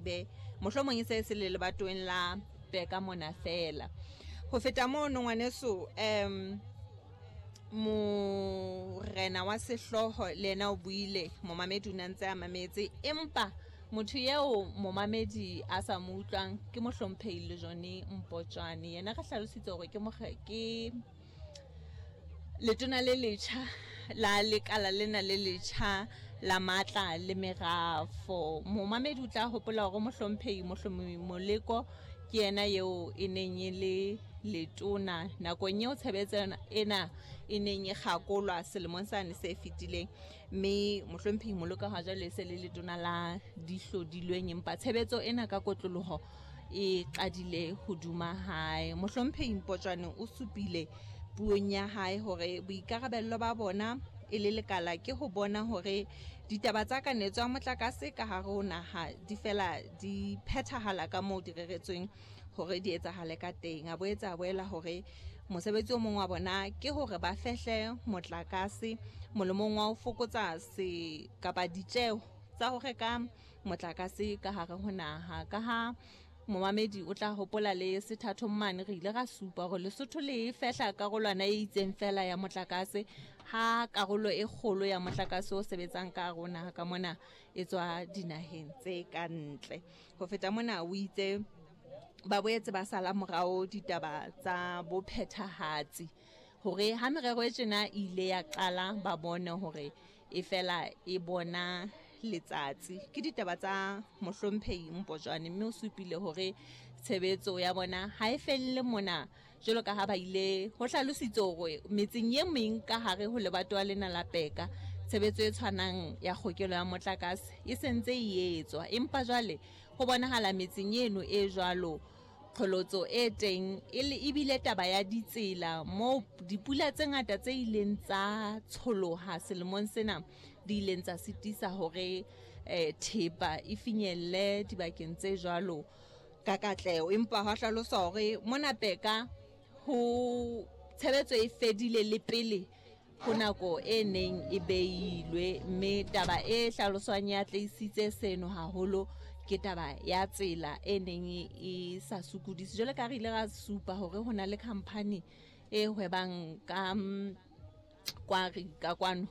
tsebe mohlomong e se e se le lebatoweng la Peka mona feela. Ho feta mono ngwaneso, um morena wa sehlooho le yena o buile, momamedi o ne a ntse a mametse, empa motho eo momamedi a sa mo utlwang ke mohlomphehi Lejone Mpotjwane. Yena re hlalositse hore ke ke letona le letjha la lekala lena le letjha la matla le merafo. Momamedi o tla hopola hore mohlomphehi Mohlomi Moleko ke yena eo e neng e le letona nakong eo tshebetso ena e neng e kgakolwa selemong sane se fetileng, mme mohlomphehi Moleko ha jwale e se le letona la dihlodilweng, empa tshebetso ena ka kotloloho e qadile hoduma hae. Mohlomphehi Mpotjwane o supile puong ya hae hore boikarabello ba bona e le lekala ke ho bona hore ditaba tsa kanetso ya motlakase ka hare ho naha di fela di phethahala ka moo di reretsweng hore di etsahale ka teng. A boetse a boela hore mosebetsi o mong wa bona ke hore ba fehle motlakase molemong wa ho fokotsa se kapa ditjeo tsa ho reka motlakase ka hare ho naha. Ka ha momamedi o tla hopola le sethathong mane re ile ra supa hore Lesotho le fehla karolwana e itseng fela ya motlakase, ha karolo e kgolo ya motlakase o sebetsang ka hare ho naha ka mona e tswa dinaheng tse ka ntle. Ho feta mona o itse ba boetse ba sala morao ditaba tsa bophethahatsi hore ha merero e tjena e ile ya qala ba bone hore e fela e bona letsatsi. Ke ditaba tsa mohlomphehi Mpotjwane, mme o supile hore tshebetso ya bona ha e felle mona jwalo ka ha ba ile ho hlalositse hore metseng e meng ka hare ho lebatowa lena la Peka tshebetso e tshwanang ya kgokelo ya motlakase e sentse e etswa, empa jwale ho bonahala metseng eno e jwalo qholotso e teng e le ebile taba ya ditsela moo dipula tse ngata tse ileng tsa tsholoha selemong sena di ileng tsa sitisa hore eh, thepa e finyelle dibakeng tse jwalo ka katleho. Empa hwa hlaloswa hore mona Peka ho tshebetso e fedile le pele ho nako e neng e beilwe, mme taba e hlaloswang ya tleisitse seno haholo ke taba ya tsela e neng e sa sokodise. Jwale ka re ile ra supa hore ho na le khampani e hwebang ka mm, kwari ka kwano,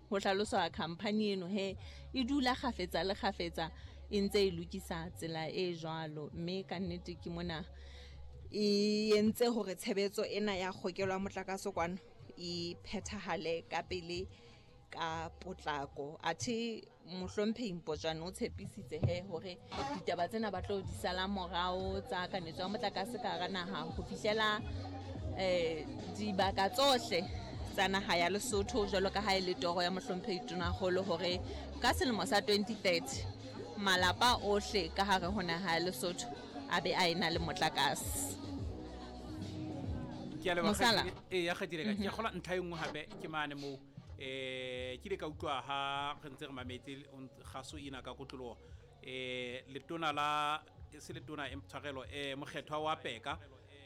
ho hlaloswa khampani eno he e dula kgafetsa le kgafetsa e ntse e lokisa tsela e jwalo, mme ka nnete ke mona e entse hore tshebetso ena ya kgokelo ya motlakase kwano e phethahale ka pele ka potlako. Athe mohlomphehi Mpotjwane o tshepisitse he hore ditaba tsena ba tlo di sala morao tsa kanetso ya motlakase ka hara naha ho fihlela um dibaka tsohle tsa naha ya Lesotho, jwalo ka ha e le toro ya mohlomphehi Tonakgolo hore ka selemo sa 2030 malapa ohle ka hare ho naha ya Lesotho a be a ena le motlakase. Ke a leboga ee ya kgatile ka ke gola ntlha e nngwe gape ke mane mo ke ile ka utlwa ha re ntse re mametse gaso ena ka kotlologo letona la se letona e tshwarelo mokgethwa wa Peka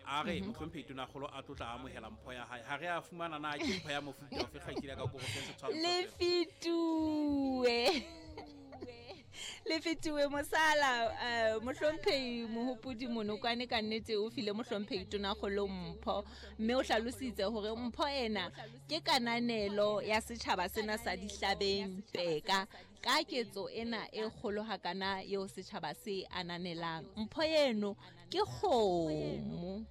a re motlhomphehi tonakgolo a tlotla amogela mpho ya hae. Ha re a fumana na ke mpho ya mofuta ofe kgaitsedi ka koro fe setshwantsho le fetue le fetiwe mosala uh, mohlomphehi Mohopodi Monokwane ka nnete o file mohlomphehi tonakgolo mpho, mme o hlalositse hore mpho ena ke kananelo ya setjhaba sena sa Dihlabeng Peka ka ketso ena e kgolo hakana eo setjhaba se ananelang. Mpho eno ke kgomo.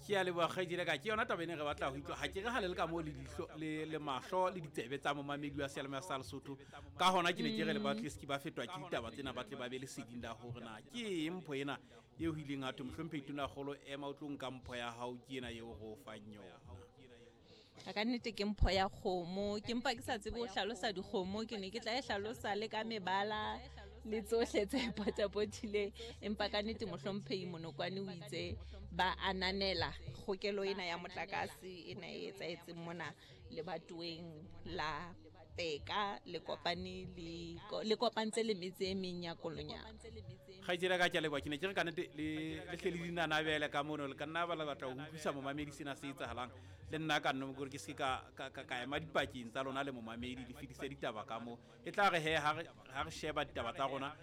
Ke a leboga kgaitsedi ka ke yona taba ene re batla go utlwa. Ga ke re ga le le ka moo le ditlho le mahlo le ditsebe tsa momamedi wa seyalemoya sa Lesotho, ka hona ke ne ke re le batleski ba fetwa ke ditaba tsena ba tle ba be leseding la gore na ke eng mpho ena eo ho ileng ha thwe mohlomphehi tonakgolo ema o tlo nka mpho ya hao, ke ena eo re o fang yona. Ka nnete ke mpho ya kgomo, ke mpa ke sa tsebe ho hlalosa dikgomo, ke ne ke tla e hlalosa le ka mebala le tsohle tse potapotileng, empa ka nnete mohlomphehi Monokwane o itse ba ananela kgokelo ena ya motlakase ena e etsahetseng mona lebatoweng la Peka le kopane le le kopantse le metse e meng ya Kolonyana. Kgaitsedi ka ke a leboga, ke ne ke re ka nnete le le hle le dinanabele ka mono le ka nna ba le batla go utlwisa momamedi sena se etsahalang le nna ka nno gore ke se ka ka ema dipakeng tsa lona le momamedi le fetise ditaba ka mo e tla re he ha re sheba ditaba tsa rona.